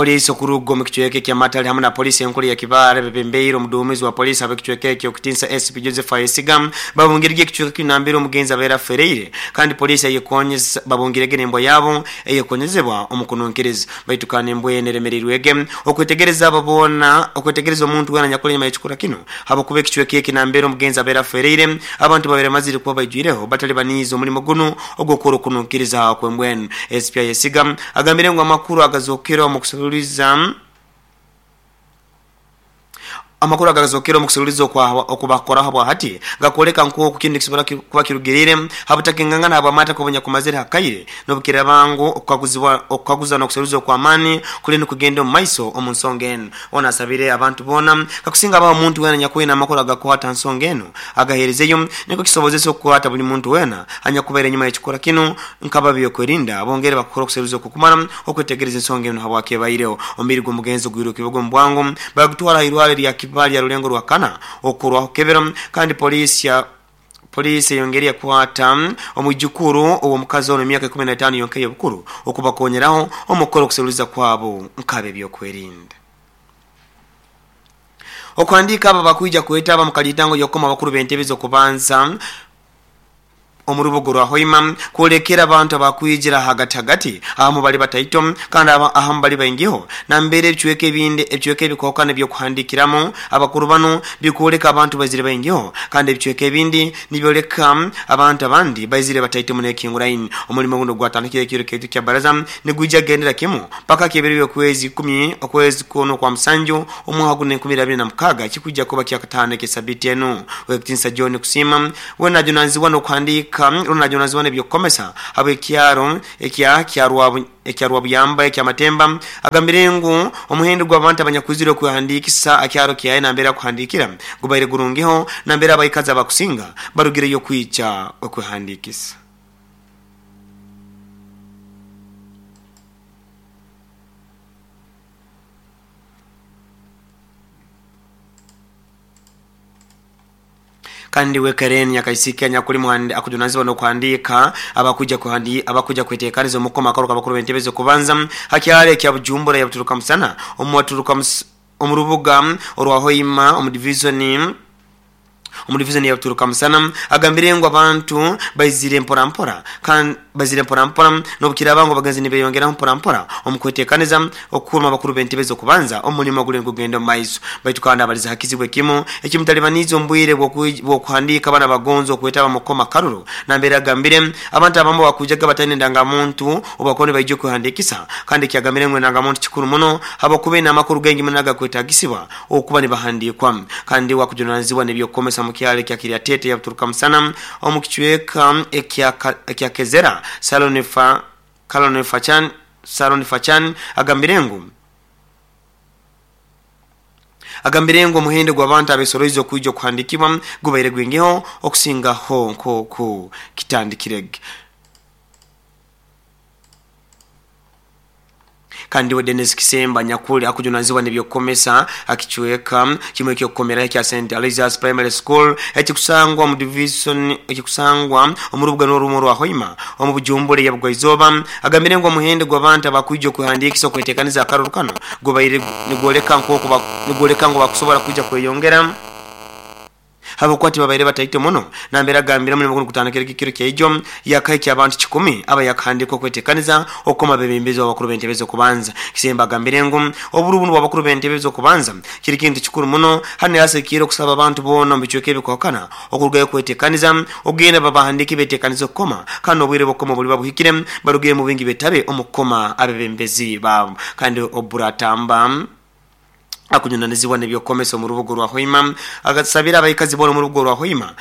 Poliisi okuruga omu kicweka ekya Matale hamu na poliisi enkuru ya Kibaale bebembeire omuduumizi wa poliisi ab'ekicweka ekyo Kitinsa SP Joseph Ayesiga babungirege ekicweka kinu nambere omugenzi abaire afereire kandi poliisi eyekonyeza babungirege n'embwa yabo eyekonyezebwa omu kununkiriza baitu kandi embwa enu eremereirwege okwetegereza abo boona okwetegereza omuntu weena anyakuli enyuma y'ekikorwa kinu habwokuba ekicweka eki nambere omugenzi abaire afereire abantu babaire bamazire kuba baijwireho batali baniize omulimo gunu ogw'okukora okununkiriza okw'embwa enu. SP Ayesiga agambire ngu amakuru agazokere omu kuseruliza amakuru agazokere omu kuseruliza okubakoraho habwahati gakwoleka nk'oku kinu nikisobora kuba kirugiriire ha butakingangana habw'amataka obunyakumazire ha kaire n'obukiraaba ngu okukaguza n'okuseruliza okw'amaani kuli nikugenda omu maiso omu nsonga enu. Ono asabire abantu boona kakusinga habaho omuntu weena anyakwine amakuru agakukwata ha nsonga enu agaheerezeyo nikwo kisobozese okukwata buli muntu weena anyakubaire enyuma y'ekikorwa kinu nk'ab'ebyokwerinda bongere bakukora okuseruliza okw'okumara okwetegereza ensonga enu habwaki ebaireho. Omubiri gw'omugenzi ogwirwe Kibogo omu bwangu bagutwara aha irwaro erya Kibaale lya Rulengo Rwakana okukorwaho kukebera kandi poliisi ya Poliisi eyongeire yakwata omwijukuru ow'omukazi onu emyaka 15 yonka ey'obukuru okubakonyeraho omu kukora okuseruliza kwabo nk'ab'ebyokwerinda. Okuhandiika abo abakwija kwetaba omu kaliitango y'okukoma abakuru b'entebe z'okubanza omu rubuga orwa Hoima kwolekera abantu abakwijira ahagati hagati ahamu bali bataito kandi ahamu bali baingiho nambere ebicweka ebindi ebicweka ebikokana eby'okuhandikiramu abakuru banu bikwoleka abantu baizire baingiho kandi ebicweka ebindi nibyoleka abantu abandi baizire bataito muno ekinguraine. Omulimo guno gwatandikire ekiro kyaitu kya baraza nigwija kugendera kimu paka kyebiro by'okwezi ikumi okwezi kunu okwa musanju omwaka guno 2026 ekikwija kuba kyakataano eky'esabiiti enu. Owekitinisa John Kusiima Weena ajunanizibwa n'okuhandiika rundi ajunanizibwa n'eby'okukomesa habw'ekyaro ekya ekya Rwabuyamba ekya Matemba agambire ngu omuhendo gw'abantu abanyakwizire okwehandiikisa akyaro kyaye nambere akuhandiikira gubaire gurungiho nambere abaikazi abakusinga barugireyo kwija okwehandiikisa. Kandi we Karen Nyakaisiki anyakuli akujunanizibwa n'okuhandiika abakwija abakwija kwetekaniza omu kukoma akaru k'abakuru b'entebe z'okubanza ha kyaro ekya Bujumbura yabuturuka musana omu waturuka omu rubuga orwa Hoima omu divizoni omu divizoni ya Buturuka Musana agambire ngu abantu baizire mpora mpora kandi baizire mpora mpora n'obukiraaba ngu abagenzi nibeyongeraho mpora mpora omu kwetekaniza Okukuuma abakuru b'entebe z'okubanza omu mulimo oguli nigugenda omu maiso. Baitu kandi abalize ha kizibu ekimu ekimutalibaniize omu bwire bw'okuhandiika abana abagonza okwetaba omu kukoma akaruru. Nambere agambire, abantu abamu bakwijaga bataine endangamuntu obu bakuba nibaija okwehandiikisa. Kandi ekyagambire ngu endangamuntu kikuru muno habwokuba eine amakuru gaingi muno agakwetagisibwa okuba nibahandiikwa. Kandi we akujunanizibwa n'eby'okukomesa omu kyaro ekya Kiryatete yabuturuka musana omu kicweka ekya Kezera Salon Salon Fachan agambire ngu agambire ngu omuhendo gw'abantu abesoroize okwija okuhandikibwa gubaire gwingiho okusingaho nk'oku kitandikireg. Kandi we Denis Kisemba anyakuli akujunanizibwa n'eby'okukomesa ha kicweka kimwe eky'okukomeraho ekya Saint Aloysius Primary School ekikusangwa omu divisoni ekikusangwa omu rubuga nirwo rumwe orwa Hoima omu Bujumbura eya Bugwaizooba agambire ngu omuhendo gw'abantu abakwija okwehandiikisa okwetekaniza akaruru kanu gubaire nigwoleka nk'oku nigwoleka ngu bakusobora kwija kweyongera Habwokuba tibabaire bataito muno, nambere agambire omulimo gunu gutandikire ekiro kyaijo, yakahikya abantu kikumi abayakahandikwa okwetekaniza okukoma abebembezi b'abakuru b'entebe z'okubanza. Kisembo agambire ngu oburu bunu bw'abakuru b'entebe z'okubanza kiri kintu kikuru muno hanu yasekiire okusaba abantu boona omu bicweka ebikuhakana okurugayo kwetekaniza okugenda babahandike betekanize okukoma kandi n'obwire bw'okukoma obuliba buhikire barugeyo omu bwingi betabe omu kukoma abebembezi baabo kandi oburatamba akunyunanizibwa n'eby'okukomesa omu rubuga orwa Hoima agasabire abaikazi boona omu rubuga orwa Hoima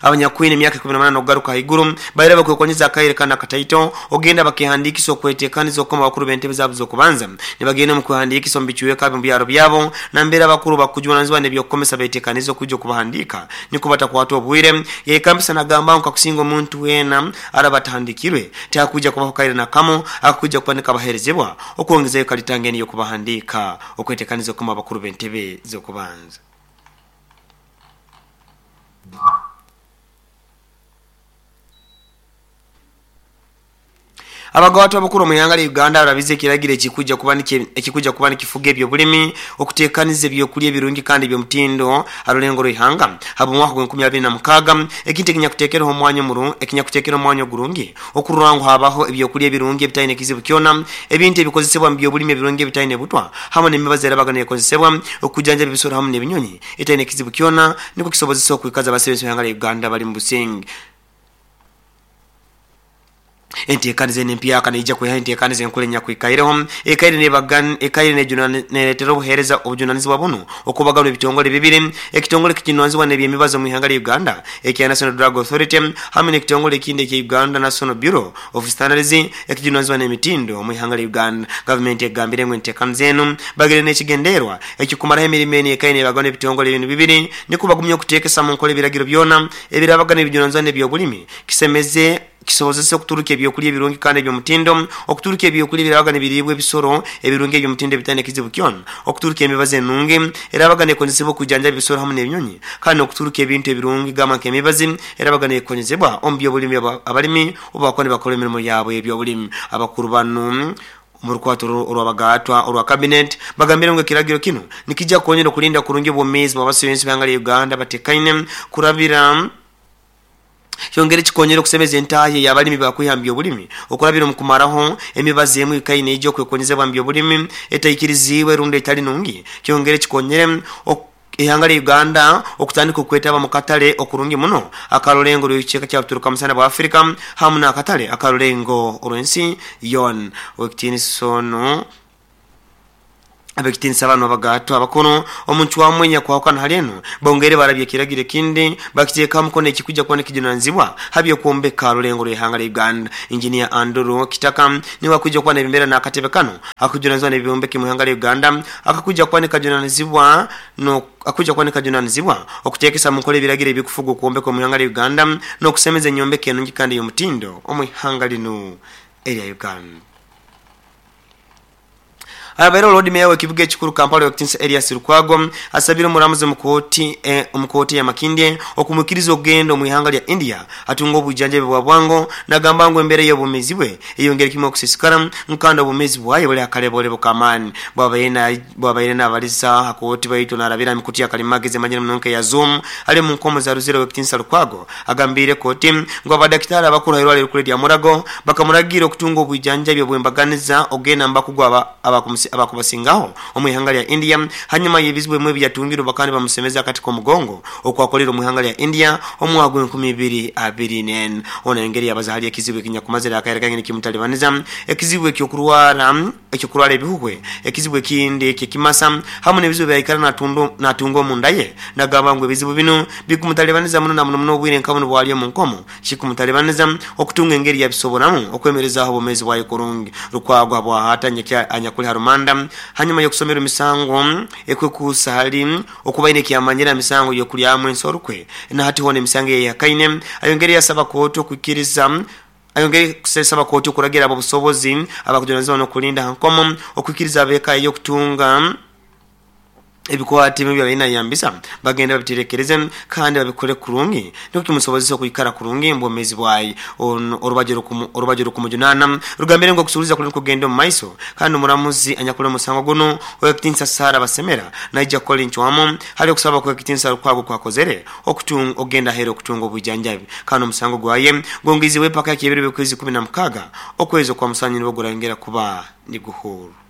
abanyakwine emyaka 18 okugaruka haiguru baire bakwekonyeza akaire kanu akataito ogenda bakehandiikisa okwetekaniza okukoma abakuru b'entebe zaabo z'okubanza nibagenda omu kwehandiikisa omu bicweka omu byaro byabo nambere abakuru bakujunanizibwa n'eby'okukomesa betekanize okwija okubahandiika nikwo batakwatwa obwire yayekambisa nagamba ngu kakusinga omuntu weena araba atahandikirwe tihakwija kubaho kaire nakamu akakwija kuba nikabaherezebwa Okwongezayo kalitanga enu y'okubahandiika okwetekaniza okukoma abakuru b'entebe z'okubanza. Abagawatu abakuru omu ihanga lya Uganda barabize ekiragiro ekikujja kuba nikifuga ebyobulimi okuteekaniza ebyokulya ebirungi kandi ebyomutindo arulengo rw'ihanga habw'omwaka gwa 2026 ekintu ekinyakuteekereho omwanya ekinyakuteekera omwanya ogurungi okurora ngu habaho ebyokulya ebirungi ebitaine kizibu kyona, ebintu ebikozesebwa mu byobulimi ebirungi ebitaine butwa hamu n'emibazi erabaga neekozesebwa okujanjaba ebisoro hamu n'ebinyonyi etaine kizibu kyona nikwo kisobozesa okwikaza abasebezi b'ihanga lya Uganda bali mu businge. Enteekaniza enu empyaka neija kwihaho enteekaniza enkuru enyakwikaireho ekaire ekaire neretera obuheereza obujunanizibwa bunu okubaganwa ebitongole bibiri, ekitongole ekijunanizibwa n'ebyemibazi omu ihanga lya Uganda ekya National Drug Authority hamu n'ekitongole ekindi ekya Uganda National Bureau of Standards ekijunanizibwa n'emitindo omu ihanga lya Uganda. Gavumenti egambire ngu enteekaniza enu bagire n'ekigenderwa eky'okumaraho emirimo enu ekaire nebaganwa ebitongole binu bibiri nikwo bagumye okuteekesa mu nkora ebiragiro byona ebirabaga nibijunanizibwa n'ebyobulimi kisemeze Kisobozese okuturukya ebyokulya ebirungi kandi eby'omutindo, okuturukya ebyokulya ebiraabaga nibiriibwa ebisoro ebirungi eby'omutindo ebitaine kizibu kyona, okuturukya emibazi enungi eraabaga neekozesebwa okwijanjaba ebisoro hamu n'ebinyonyi, kandi n'okuturukya ebintu ebirungi gamba nk'emibazi eraabaga neekozesebwa omu by'obulimi abalimi obu bakuba nibakora emirimo yaabo ey'eby'obulimi. Abakuru banu omu rukwato orw'abagaatwa orwa Cabinet bagambire ngu ekiragiro kinu nikija kukonyera okulinda kurungi obwomeezi bw'abasyoensi b'ihanga lya Uganda abatekaine kurabira Kyongere kikonyere okusemeza entahya ey'abalimi bakwiha mu by'obulimi okurabira omu kumaraho emibazi emu ekaine neija okwekonyezebwa mu by'obulimi etaikiriziibwe rundi etali nungi. Kyongere kikonyere ihanga lya Uganda okutandika okwetaba mu katale okurungi muno akarulengo rw'ekicweka kya Buturuka Musana bwa Afrika hamu n'akatale akarulengo orw'ensi yoona. Ow'ekitiinisa onu. Ab'ekitiinisa banu abagaatwa abakuru omu ncwamu enyakwahukana hali enu, bongeire barabya ekiragiro ekindi bakiteeka ha mukono ekikwija kuba nikijunanizibwa ha by'okwombeka rulengo rw'ihanga lya Uganda. Engineer Andrew Kitaka niwe akwija kuba nayebembera n'akatebe kanu akakujunanizibwa n'ebyombeki mu ihanga lya Uganda akakwija kuba nikajunanizibwa akakwija kuba nikajunanizibwa okuteekesa mu nkola ebiragiro ebikufuga okwombeka omu ihanga lya Uganda n'okusemeza enyombeka enungi kandi ey'omutindo omu ihanga linu erya Uganda. Abaire Loodi Meeya w'ekibuga ekikuru Kampala Ow'ekitinisa Erias Lukwago asabire omuramuzi omu kooti omu kooti eya Makindye okumwikiriza okugenda omu ihanga lya India atunge obwijanjabi bwa bwango nagamba ngu embeera y'obwomeezi bwe eyongeire kimwe okusiisikara ngu kandi obwomeezi bwaye buli akaleboolebo k'amaani. Bwabaire nabaliza aha kooti baitu narabira aha mikutu ya kalimagezi emanyire muno nka eya Zoom ari omu nkomo za Luzira Ow'ekitinisa Lukwago Agambiire kooti ngu abadakitaali abakuru ahairwariro erikuru erya Mulago bakamuragiira okutunga obwijanjabi obw'embaganiza okugenda omu bakugu abakubasingaho omu ihanga lya India hanyuma y'ebizibu ebimwe ebiyatungire obu bakaba nibamusemeza akati k'omugongo okwakoleire omu ihanga lya India omu mwaka gw'enkumi ibiri abiri n'ena. Ono ayongeire yabaza hali ekizibu ekinyakumazire akaire kaingi nikimutalibaniza, ekizibu eky'okurwara eky'okurwara ebihuhwe, ekizibu ekindi eky'ekimasa hamu n'ebizibu ebi yaikara natunga omunda ye. Nagamba ngu ebizibu binu Bikumutalibaniza muno na muno muno obwire nka bunu bwali omu nkomo. Kikumutalibaneza okutunga engeri yabisoboramu okwemerezaaho obwomeezi bwaye kurungi. Lukwago habwahati anyakuli ha rumanda hanyuma y'okusomerwa emisango ekwekuusa hali okuba aine ekyamanyire ha misango y'okulyamu ensi orukwe na hati hoona emisango eyeyehakaine. Ayongeire yasaba kooti okwikiriza Ayongeire kusaba kooti okuragira ab'obusobozi abakujunanizibwa n'okulinda ha nkomo okwikiriza ab'eka ye okutunga Ebikwate ebi byabaire nayambisa bagende babiterekereze kandi babikole kurungi nikwo kimusobozese okwikara kurungi omu bwomeezi bwaye. Orubaju orukumujunaana rugambire ngu okusuruliza kuli nikugenda omu maiso kandi omuramuzi anyakuli omu musango gunu Owekitinisa Sarah Basemera naija kukora encwamu hali okusaba kw'ekitinisa Lukwago okwakozere okugenda aheeru okutunga obwijanjabi kandi omusango gwaye gwongeizibwe paka ky'ebiro by'okwezi 16 okwezi okwa musanju nibwo gurayongera kuba niguhurwa.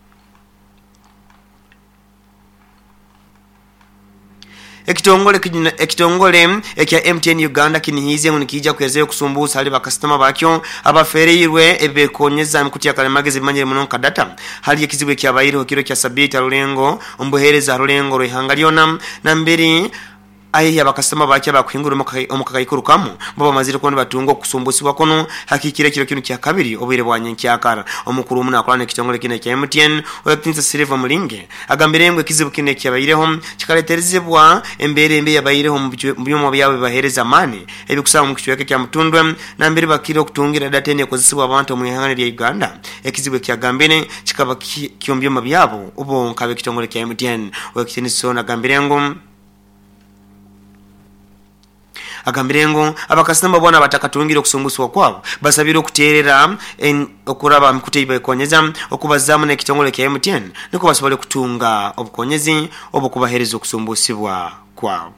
Ekitongole ekitongole ekya MTN Uganda kinihiize ngu nikiija kuheezayo okusumbuusa hali bakasitoma bakyo abafeereirwe ebibekonyeza emikutu ya kalimagezi ebimanyire muno nka data hali ekizibu ekyabaireho kiro kya sabiiti ha rulengo omu buheereza ha rulengo rw'eihanga lyona namberi Aye abakasitoma bakyo abakuhingura omu kakaikuru kamu bo bamazire kuba nibatunga okusumbusibwa kunu hakikire ekiro kinu kyakabiri obwire bwa nyenkyakara. Omukuru omu nakola n'ekitongole kinu ekya MTN, Ow'ekitinisa Silver Mulinge agambire ngu ekizibu kinu ekyabaireho kikaleterezebwa embeera embi eyabaireho omu byoma byabo ebibahereza amaani ebikusangwa omu kicweka ekya Mutundwe nambere bakira okutungira data enu ekozesebwa abantu omu ihanga erya Uganda. Ekizibu ekiyagambire kikaba kyomu byoma byabo bonka ab'ekitongole kya MTN. Ow'ekitinisa ono agambire ngu. Agambire ngu abakasitoma boona abatakatungire okusumbusibwa kwabo basabirwe okuteerera okuraba aha mikutu eyibekonyeza okubazaamu n'ekitongole kya MTN nikwo basobole kutunga obukonyezi obw'okubaheereza okusumbusibwa kwabo.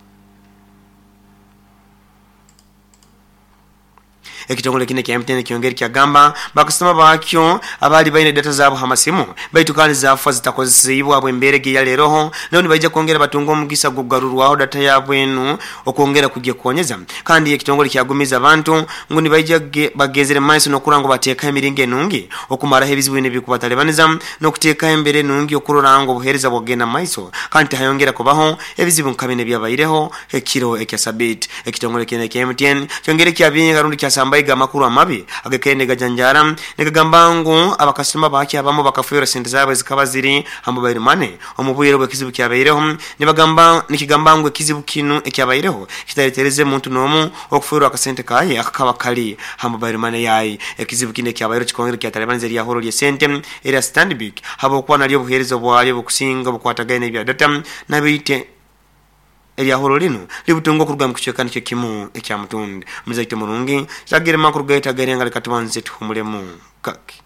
Ekitongole kinu ekya MTN kyongeri kyagamba bakasitoma bakyo abaali baine data zaabo ha masimu baitu kandi zaafa zitakozeseibwe habw'embeera egi eyaleeroho nabo nibaija kwongera batunge omugisa gw'okugarurwaho data yaabo enu okwongera kugyekonyeza. Kandi ekitongole kyagumiza abantu ngu nibaija bagenzere mumaiso n'okurora ngu bateekaho emiringo enungi okumaraho ebizibu binu ebirikubatalibaniza n'okuteekaho embeera enungi okurora ngu obuheereza bwagenda mumaiso kandi tihayongera kubaho ebizibu nka binu ebyabaireho ekiro ekya sabiiti. Ekitongole kinu ekya MTN kyongeire kyabinga rundi kyasambaiga amakuru amabi agakaire nigajanjaara nigagamba ngu abakasitoma bakyo abamu bakafeerwa sente zaabo ezikaba ziri ha mobile money omu bwire obu ekizibu kyabaireho. Nibagamba nikigamba ngu ekizibu kinu ekyabaireho kitaretereze muntu n'omu okufeerwa akasente kaye akakaba kali ha mobile money yaye. Ekizibu kinu ekyabaireho kikongera kyatalibaniza eryahuro ly'esente erya Stanbic habwokuba naryo obuheereza bwalyo obukusinga bukwatagaine n'ebya data nabaite Eryahuro linu libutunga okuruga mu kicweka nikyo kimu ekya Mutundi. Muzaite murungi, tagire makuru gaitu agairenga leka tubanze tuhumulemu kake.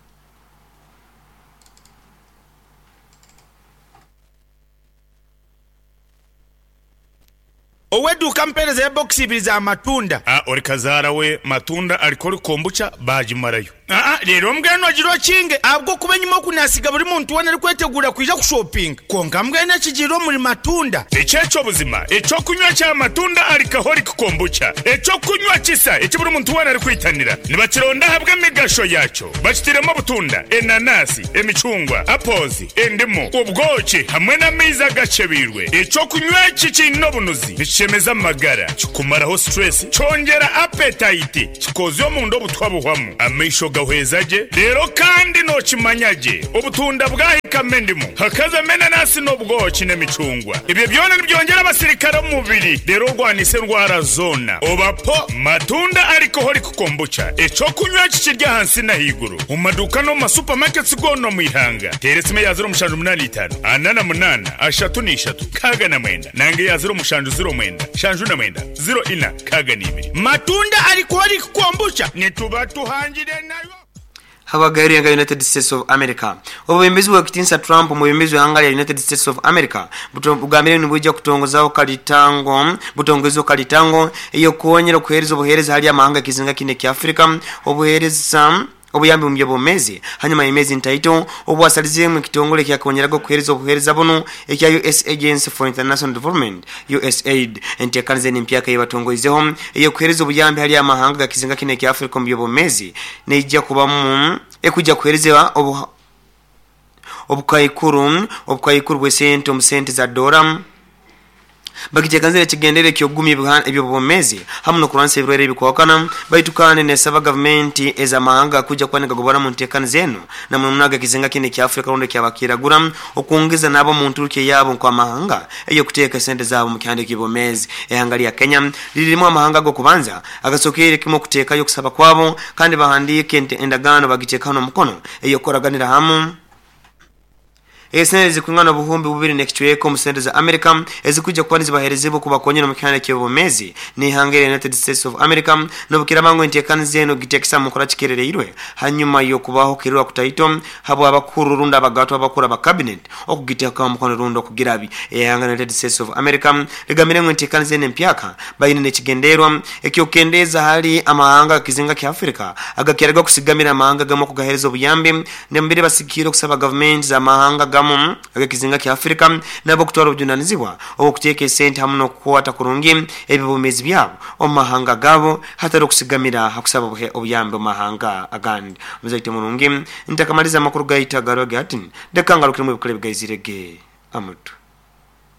Ow'eduuka ampeereza ya bokisi ibiri za matunda. A Ori kazaara we matunda arikori kombucha baagimarayo. Aa Reero mbwenu ogire okinge, ahabw'okuba enyima oku naasiga buri muntu weena arikweteguura kwija kushopinga. Kwonka mbwenu ekigiire omuri matunda. Eki eky'obuzima, eky'okunywa kya matunda alcoholic kombucha, eky'okunywa kisa eki buri muntu weena arikwitanira. Nibakironda ahabw'emigasho yaakyo. Bakitairemu obutunda, enanasi, emicungwa, apples, endimu, obwoki hamwe n'amaizi agakyebeirwe. Eky'okunywa eki kiine obunuzi, nikishemeza amagara, kikumaraho stress, kyongyera appetite, Kikoze omunda obutwa buhwamu, amaisho gahweza gye, reero kandi nookimanya gye obutunda bwahikamu endimu, hakazamu enanasi n'obwoki n'emicungwa. Ebyo byona nibyongyera abasirikare omu mubiri reero orwanise endwara zoona. Oba po matunda alcoholic kombucha, eky'okunywa eki kiri ahansi n'ahaiguru omu maduuka n'omu ma supermarkets goona omu ihanga. Teera esimu eya 0785 48 33 69 nanga eya 0709 79 04 62. Matunda alcoholic kombucha nituba tuhangire nayo. Habwagairwe nka United States of America. Obwebembezi bw'ekitinisa Trump, omwebembezi w'eihanga lya United States of America, bugambire ngu nibwija kutongozaho kalitango butongozeho kalitango ey'okukonyera okuheereza obuheereza hali amahanga g'ekizinga kinu ekya Africa obuheereza obuyambi omu by'obwomeezi hanyuma y'emyezi ntaito obu asalizeemu ekitongole ekyakonyeraga okuheereza obuheereza bunu ekya US Agency for International Development, USAID. Enteekaniza enu empyaka ei batongoizeho ey'okuheereza obuyambi hali amahanga ga kizinga kinu ekya Afrika omu by'obwomeezi neija kubamu ekwija kuheereza obukaikuru obukaikuru bw'esente omu sente za doora. Bagiteekanize n'ekigendererwa eky'okugumya eby'obwomeezi hamu n'okurwanisa ebirwaire ebikwahukana. Baitu kandi n'esaba gavumenti ez'amahanga kwija kuba nigagobora mu nteekaniza enu na muno muno ag'ekizinga kinu ekya Afrika rundi eky'abakiragura okwongeza n'abo mu nturukya yaabo nk'amahanga ey'okuteeka esente zaabo mu kihanda eky'obwomeezi. Ihanga lya Kenya liri limu amahanga ag'okubanza agasokeire kimu okuteekayo okusaba kwabo kandi bahandiika endagaano bagiteekaho n'omukono ey'okukoraganira hamu. Esente ezikwingana obuhumbi bubiri n'ekicweka omu sente za Amerika ezikwija kuba nizibaherezibwa kubakonyera omu kihanda eky'obwomeezi n'ihanga erya United States of America n'obukiraaba ngu entekaniza enu gitekesa omu nkora kikerereirwe hanyuma y'okubaho okuhererwa kutaito habw'abakuru rundi abagatwa abakuru aba cabinet okugitekaho omukono rundi okugirabya. Ihanga United States of America ligambire ngu entekaniza enu empyaka baine n'ekigendererwa eky'okukendeeza hali amahanga ag'ekizinga kya Africa agakiraga okusigamira amahanga agamu okugahereza obuyambi Nembire basigikiire okusaba gavumenti z'amahanga agamu ag'ekizinga kya Afrika nabo kutwara obujunanizibwa obw'okuteeka esente hamu n'okukwata kurungi eby'obwomeezi byabo omu mahanga gaabo hatali okusigamira ha kusaba obuyambi omu mahanga agandi. Omuzaite murungi, ntakamaliza amakuru gaitu agarwage hati, leka ngarukiremu ebikuru ebigaizire ge amutwe.